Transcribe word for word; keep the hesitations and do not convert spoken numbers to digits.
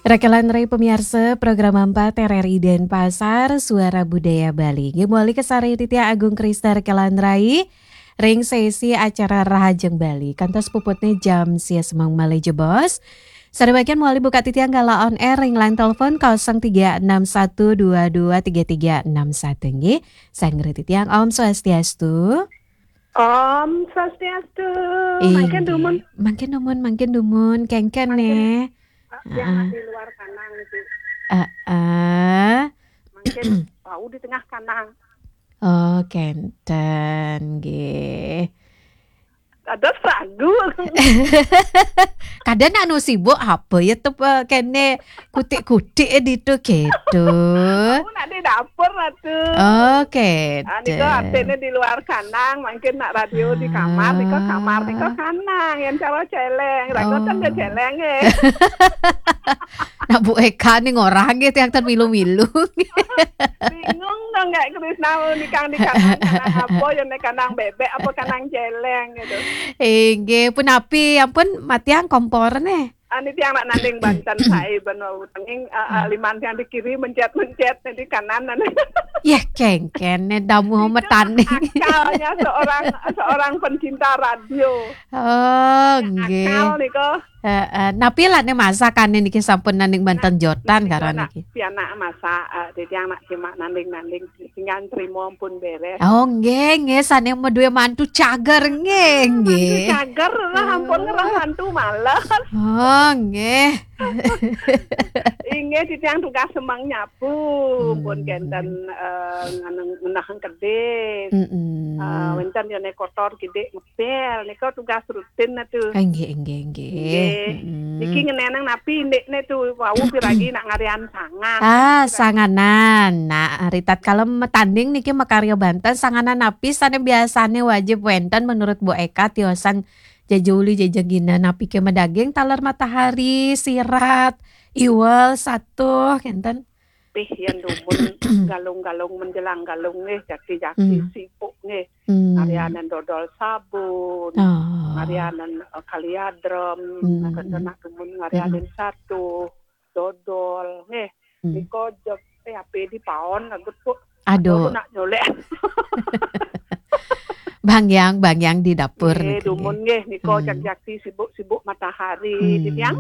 Rekelan rai pemiarsa program empat R R I Denpasar, Suara Budaya Bali. Nggih, mawali kasarengin titiang Agung Krista rekelan rai ring sesi acara Rahajeng Bali. Kantos puputne jam sia semeng malih jebos. Sane mangkin mawali buka titiang galah on air ring line telepon kosong tiga enam satu dua dua tiga tiga enam satu nggih. Sareng titiang Om Swastiastu. Om Swastiastu. Mangkin dumun. Mangkin dumun, mangkin dumun. Kengken ne. Yang ah, di luar kanang itu. Heeh. Mangkin wau di tengah kanang. Oh, kenten nggih. Ada sagu. Kadang anu sibuk apa ya tu, eh, kene kutik-kutik eh ditu gitu. Aku nak di dapur lah tu. Oh, kenten. Ah, niko artine di luar kanang, mangkin nak radio di kamar, niko kamar, niko kanang, yang cara celeng. Ragotan ke celeng eh. Nak Bu Eka ni ngorang gitu yang termilu-milu. Bingung dong, Kak Krisna, mau nikang di kanang, kanang apa, yang nek kanang bebek apa kanang celeng gitu. Inggih, punapi, ampun, matiang kompor nih. Ani tiang nak nanding banten saya benua utenging, eh, eh, liman tiang di kiri mencet-mencet di kanan. Yeh, kengken ne damu metani. Akalnya seorang, seorang pencinta radio. Oh, nggih. Akal niko. Heeh. Napi lane masakane niki sampun nanding banten jotan karo niki. Pianak masak, eh, dadi anak cuma nanding-nanding sing trimo pun beres. Oh, nggih, nggih, sane madue mantu cager nggih, nggih. Mantu cager lah, ampun ngerang mantu males. Oh, nggih. Inggih, titiang tugas semeng nyapu, pun kenten, eh, ngeneng, ngenahang kedis. Mm-mm. Eh, wenten yone kotor kidik ngepel, nika tugas rutin atu. Ah, nggih, nggih, nggih. Nggih. Mm-mm. Niki ngenenang napi ndikne tu wau piragi nak ngarian sangan. Ah, sanganan. Nah, ritatkala matanding niki makarya banten, sanganan napi sane biasane wajib wenten menurut Bu Eka tiosan jejuli jejegina, napi ke madaging taler matahari, sirat, iwel, satuh, kenten. Pih yen dumun galung-galung menjelang galung nggih, jaki-jaki sibuk nggih. Hmm. Ngarianen dodol sabun, oh, ngarianen, eh, kaliadrem, hmm, nak dumun ngarianen satuh, dodol nggih. Hmm. Niko jeg, eh, ape di paon lagut kok. Aduh. Aku nak nyolek. Bang Yang, Bang Yang di dapur. Nggih, dumun nggih, niko jaki-jaki sibuk-sibuk matahari. Hmm. Di tiang